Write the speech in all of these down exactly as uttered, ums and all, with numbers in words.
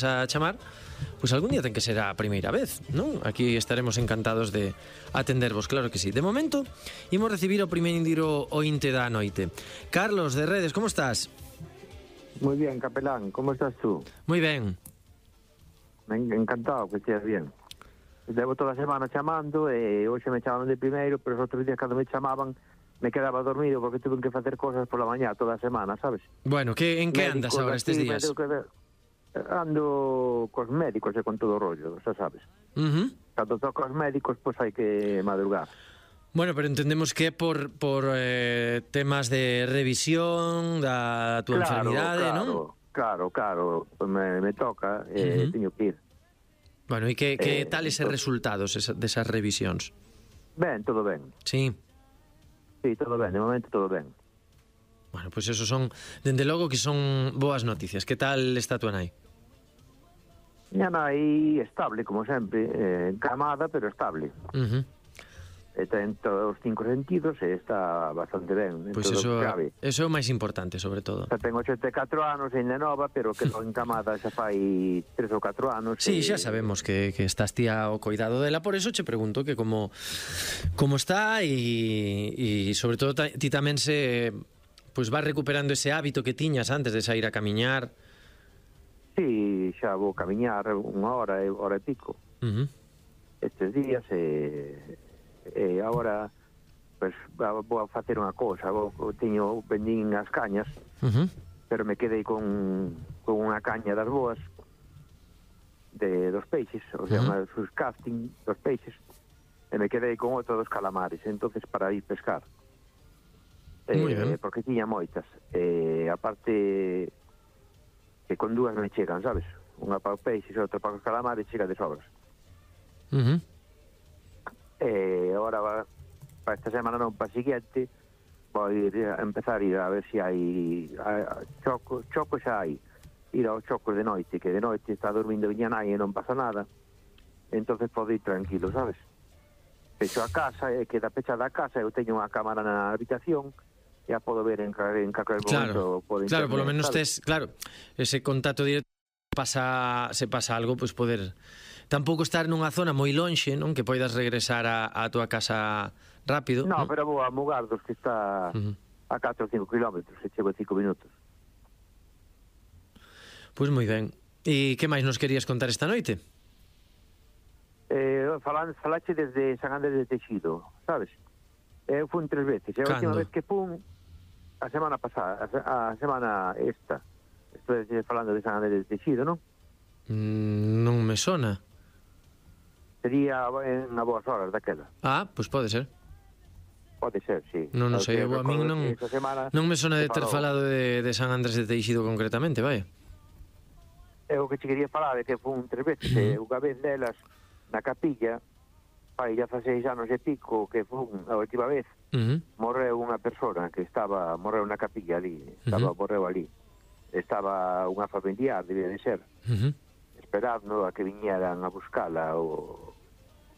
a chamar, pois algún día ten que ser a primeira vez, non? Aquí estaremos encantados de atendervos, claro que sí. De momento, imos recibir o primeiro ointe da noite. Carlos, de Redes, como estás? Moi bien, capelán, como estás tú? Moi ben. Encantado que estés bien. Levo toda a semana chamando e hoxe me chamaban de primeiro, pero os outros días cando me chamaban me quedaba dormido porque tuve que facer cosas pola mañá toda a semana, sabes? Bueno, que, en que andas agora estes días? Ando cos médicos e con todo o rollo, xa sabes. Uh-huh. Cando toco aos médicos, pois hai que madrugar. Bueno, pero entendemos que é por, por eh, temas de revisión da túa claro, enfermidade, claro, non? Claro, claro, me, me toca e eh, uh-huh. teño que ir. Bueno, e que, que eh, tal ese entonces... resultados esa, desas revisións? Ben, todo ben. Sí. Sí, todo ben, de momento todo ben. Bueno, pois pues eso son, dende logo que son boas noticias. Que tal está a tua nai? Miña nai estable, como sempre, eh, encamada, pero estable. Uh-huh. E ten todos os cinco sentidos e está bastante ben. Pois pues eso, eso é o máis importante, sobre todo. Xa ten ochenta e catro anos, ainda nova, pero que non encamada xa fai tres ou catro anos. Sí, e... xa sabemos que, que estás tía ao cuidado dela, por eso che pregunto que como, como está e, e sobre todo ti tamén se pois pues, vas recuperando ese hábito que tiñas antes de sair a camiñar. Sí, xa vou camiñar unha hora, hora e pico. Uh-huh. Estes días e, e agora pues, vou a facer unha cousa. Vou, teño vendín as cañas, uh-huh. pero me quedei con, con unha caña das boas de dos peixes, o sea, uh-huh. unha sus casting dos peixes, e me quedei con outro dos calamares, entonces para ir pescar. Eh, porque tiña moitas. E aparte que con dúas me chegan, sabes? Unha para os peixes e outra para os calamares, chega de sobras. Uh-huh. E agora va, para esta semana non, para a seguinte vou ir a empezar a ir a ver se hai choco, choco xa hai, ir aos chocos de noite, que de noite está dormindo viña nai e non pasa nada, entonces podo ir tranquilo, sabes? Peixo a casa, e queda pechada a casa, eu teño unha cámara na habitación, ya podo ver en, en calquer momento claro, por internet. Claro, por lo menos ¿sabes? tes, claro, ese contacto directo, pasa, se pasa algo, pois pues poder tampouco estar nunha zona moi lonxe, non, que poidas regresar a, a tua casa rápido. No, ¿no? pero vou a Mugardos, que está uh-huh. a catro ou cinco kilómetros, e chego en cinco minutos. Pois pues moi ben. E que máis nos querías contar esta noite? Eh, falan, falache desde San Andrés de Teixido, sabes? Eu fun tres veces, e a última vez que fun a semana pasada, a, a semana esta. Estou falando de San Andrés de Teixido, non? Mm, non me sona. Sería en a boas horas daquela. Ah, pois pues pode ser. Pode ser, sí. Non, non sei, eu a min non, non me sona de ter falado de, de San Andrés de Teixido concretamente, vai. É o que te quería falar, é que fun tres veces, uh-huh. e unha vez delas na capilla, fai xa seis anos e pico que fun a última vez, uh-huh. morreu unha persona que estaba, morreu na capilla ali, estaba, uh-huh. morreu ali. Estaba unha familiar, debía de ser, uh-huh. esperando a que viñeran a buscala o,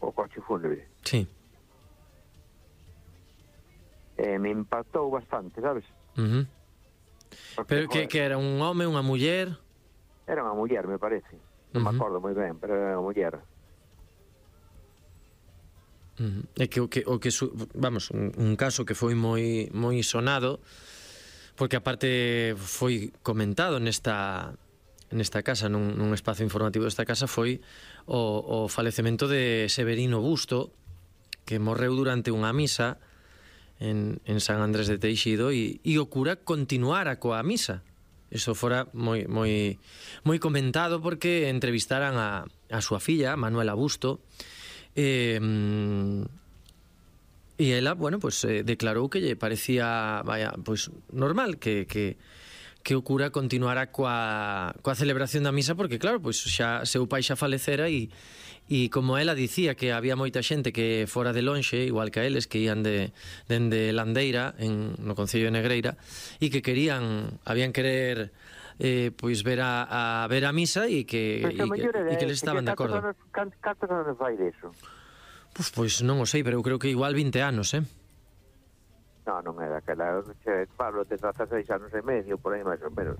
o coche fúnebre. Sí. E me impactou bastante, sabes? Uh-huh. Pero que, que era un home, unha muller? Era unha muller, me parece. Non uh-huh. me acordo moi ben, pero era unha muller. Uh-huh. É que o que, o que su, vamos, un, un caso que foi moi moi sonado, porque aparte foi comentado nesta nesta casa, nun, nun espazo informativo desta casa, foi o, o falecemento de Severino Busto, que morreu durante unha misa en, en San Andrés de Teixido, e, e o cura continuara coa misa. Eso fora moi moi moi comentado porque entrevistaran a, a súa filla, Manuela Busto, e e ela, bueno, pues eh, declarou que lle parecía, vaya, pues normal que que que o cura continuara coa coa celebración da misa, porque claro, pois pues, xa seu pai xa falecera, e e como ela dicía que había moita xente que fora de lonxe, igual que a eles, que ían de dende Landeira en no concello de Negreira, e que querían, habían querer eh, pois ver a, a ver a misa, e que e que, e que les estaban de acordo. Cantos anos vai deso? Pois, pois non o sei, pero eu creo que igual vinte anos, eh? Non, non era aquela, Pablo, te dezasseis anos e medio, por aí máis ou menos.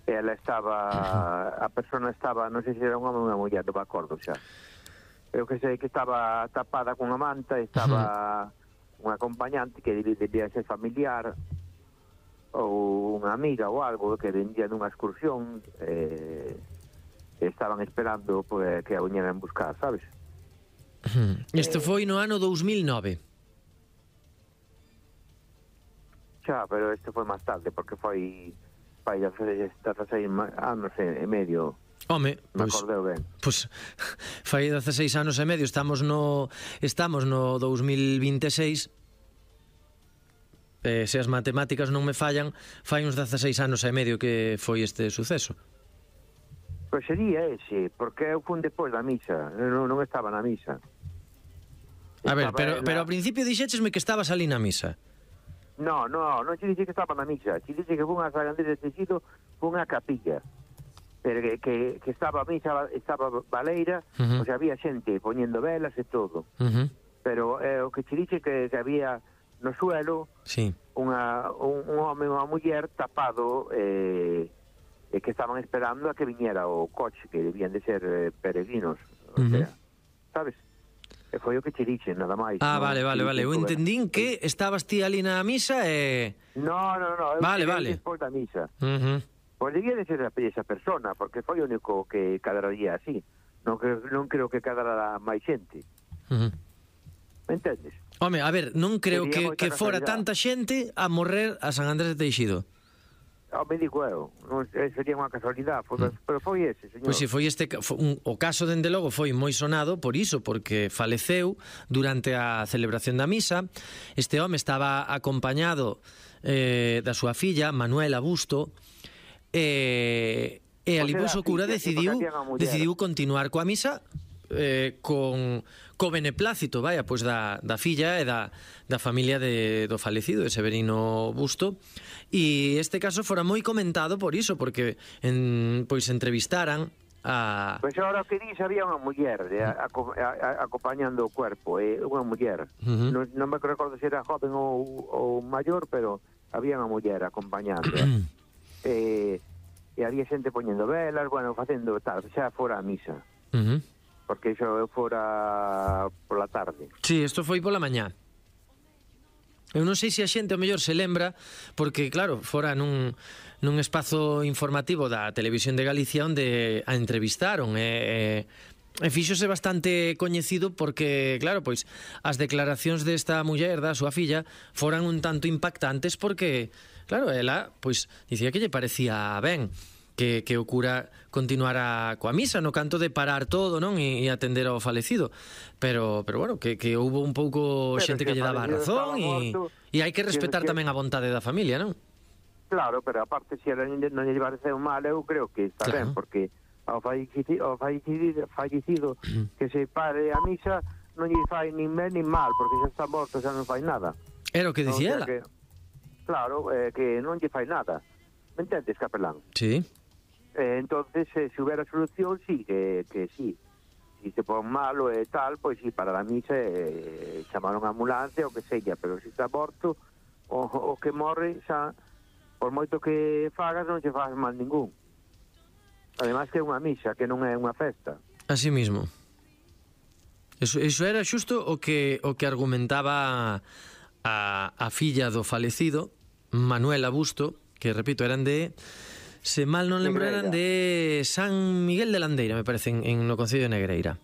ela estaba, a persona estaba, non sei se era un home ou unha muller, non me acordo xa. Eu que sei que estaba tapada cunha manta, estaba un acompañante que debía ser familiar ou unha amiga ou algo que vendía nunha excursión, eh, estaban esperando pues, que a viñeran buscar, sabes? Isto foi no ano dous mil nove. Xa, pero isto foi máis tarde, porque foi fai dezasseis anos e medio. Home, me pois, acordeu ben. Pois fai dezasseis anos e medio, estamos no estamos no dous mil vinte e seis. Eh, se as matemáticas non me fallan, fai uns dezasseis anos e medio que foi este suceso. Pois sería ese, porque eu fun depois da misa, non, non estaba na misa. A ver, Estaba pero, ela... pero ao principio dixéchesme que estabas ali na misa. No, no, non te dixe que estaba na misa, te dixe que fun a San Andrés de Teixido, fun a capilla, pero que, que, que estaba a misa, estaba baleira, uh -huh. o sea, había xente poñendo velas e todo, uh -huh. pero eh, o que te dixe que, que había no suelo sí. unha, un, un home e unha muller tapado, eh, e que estaban esperando a que viñera o coche, que debían de ser eh, peregrinos, o uh -huh. sea, sabes? E foi o que che dixe, nada máis. Ah, no? vale, vale, vale. Eu entendín que estabas ti ali na misa e... No, no, no. Eu vale, vale. Despois da misa. Uh -huh. Pois debía de ser esa persona, porque foi o único que cadararía así. Non, que, non creo que cadará máis xente. Uh -huh. Me entendes? Home, a ver, non creo que, que fora tanta xente a morrer a San Andrés de Teixido. Oh, me digo eu, non, sería unha casualidade, foi, mm. pero foi ese, señor. Pois si foi este, foi un, o caso dende logo foi moi sonado por iso, porque faleceu durante a celebración da misa. Este home estaba acompañado eh, da súa filla, Manuela Busto, e, e ali pois o cura decidiu, decidiu continuar coa misa eh, con co beneplácito, vaya, pois da, da filla e da, da familia de, do falecido, de Severino Busto. E este caso fora moi comentado por iso, porque en, pois entrevistaran a... Pois agora que dis, había unha muller de, a, a, a, acompañando o cuerpo, eh, unha muller. Uh -huh. non, non me recordo se era joven ou, ou maior, pero había unha muller acompañando. eh, e había xente poñendo velas, bueno, facendo tal, xa fora a misa. Uh -huh. Porque iso fora pola tarde. Sí, isto foi pola mañá. Eu non sei se a xente ao mellor se lembra, porque claro, fora nun, nun espazo informativo da Televisión de Galicia onde a entrevistaron e, e, e fíxose bastante coñecido porque, claro, pois as declaracións desta muller, da súa filla, foran un tanto impactantes porque, claro, ela pois dicía que lle parecía ben que, que o cura continuara coa misa no canto de parar todo, non? E, e atender ao falecido. Pero, pero bueno, que, que houbo un pouco pero xente que lle daba a razón e, e hai que respetar que, tamén a vontade da familia, non? Claro, pero aparte se ela non lle pareceu mal, eu creo que está claro. Ben, porque ao fallecido, ao fallecido, fallecido que se pare a misa non lle fai nin ben nin mal, porque xa está morto, xa non fai nada. Era o que dicía ela. Que, claro, eh, que non lle fai nada. Me entendes, capelán? Sí. Eh, entonces, eh, se hubiera solución, sí, que, que sí. Si se pon malo e tal, pois sí, para a misa eh, chamaron a ambulancia o que sella, pero se está morto o, o que morre xa, por moito que fagas non se faz mal ningún. Ademais que é unha misa, que non é unha festa. Así mismo. Eso, eso era xusto o que o que argumentaba a, a filla do falecido, Manuela Busto, que repito, eran de... Se mal non lembro, eran de San Miguel de Landeira, me parece, en, en no Concello de Negreira.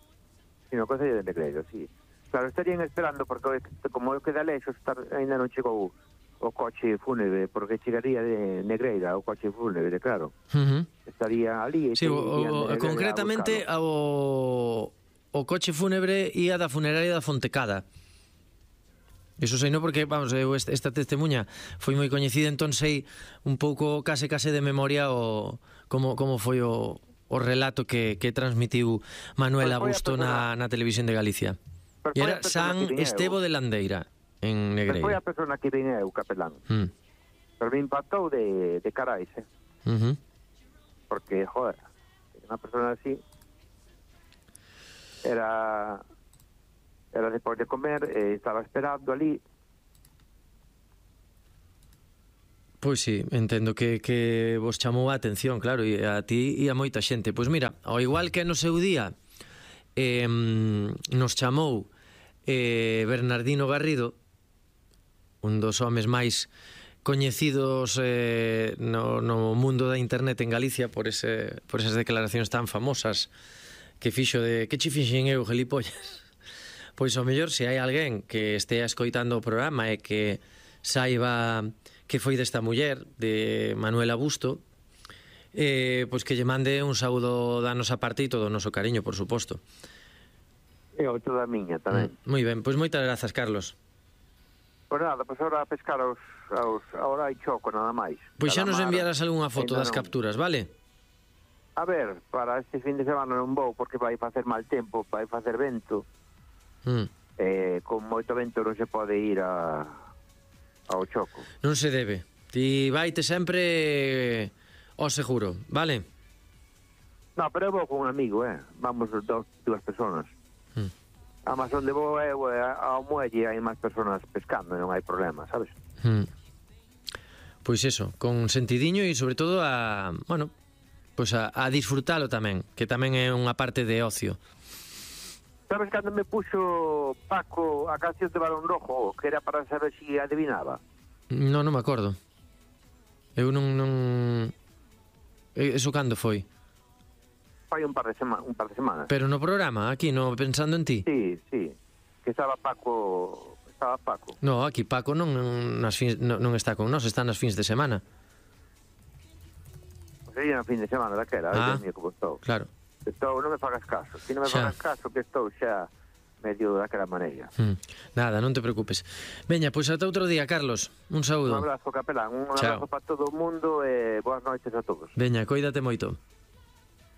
Sí, no Concello de Negreira, sí. Claro, estarían esperando, porque como eu queda lexo, ainda non chegou o coche fúnebre, porque chegaría de Negreira o coche fúnebre, claro. Uh -huh. Estaría ali... Sí, o, o, concretamente o, o coche fúnebre ia da funeraria da Fontecada. Iso sei, non, porque, vamos, eu esta testemunha foi moi coñecida, entón sei un pouco case case de memoria o como, como foi o, o relato que, que transmitiu Manuela Busto na, na Televisión de Galicia. E era San Estevo de Landeira, en Negreira. Foi a persona que vin eu, capelán. Mm. Pero me impactou de, de carais, eh? Uh -huh. Porque, joder, unha persona así era... Era despois de comer, eh, estaba esperando ali. Pois sí, entendo que, que vos chamou a atención, claro, e a ti e a moita xente. Pois mira, ao igual que no seu día eh, nos chamou eh, Bernardino Garrido, un dos homes máis coñecidos eh, no, no mundo da internet en Galicia por, ese, por esas declaracións tan famosas que fixo de que che fixen eu, gilipollas. Pois ao mellor se hai alguén que estea escoitando o programa e que saiba que foi desta muller, de Manuela Busto, eh, pois que lle mande un saúdo da nosa parte e todo o noso cariño, por suposto. E outro da miña tamén. Mm, moi ben, pois moitas grazas, Carlos. Pois nada, pois ahora a pescar aos, aos ahora hai choco nada máis. Pois xa nos Calamar, enviarás algunha foto ainda das non. capturas, vale? A ver, para este fin de semana non vou porque vai facer mal tempo, vai facer vento. Mm. Eh, con moito vento non se pode ir a ao choco. Non se debe. Ti vaite sempre ao seguro, vale? No, pero eu vou con un amigo, eh. Vamos dos, dúas personas. Mm. Además, onde vou eu, eh, ao muelle hai máis personas pescando, non hai problema, sabes? Mm. Pois eso, con sentidiño e sobre todo a, bueno, pois a, a disfrutalo tamén, que tamén é unha parte de ocio. Sabes cando me puxo Paco a canción de Balón Rojo, que era para saber si adivinaba? Non, non me acordo. Eu non... non... Eso cando foi? Fai un par de sema, un par de semanas. Pero no programa, aquí, no Pensando en Ti? Sí, sí, que estaba Paco, estaba Paco. No, aquí Paco non, nas fins, non, non está con nós, está nas fins de semana. Sería no fin de semana daquela, Ah, ah, como estou. claro. Estou, non me fagas caso, si non me Xa. fagas caso que estou xa medio daquela maneira. Hmm. Nada, non te preocupes. Veña, pois ata outro día, Carlos. Un Un saúdo. abrazo, capelán, un Chao. abrazo para todo o mundo e boas noites a todos. Veña, coídate moito.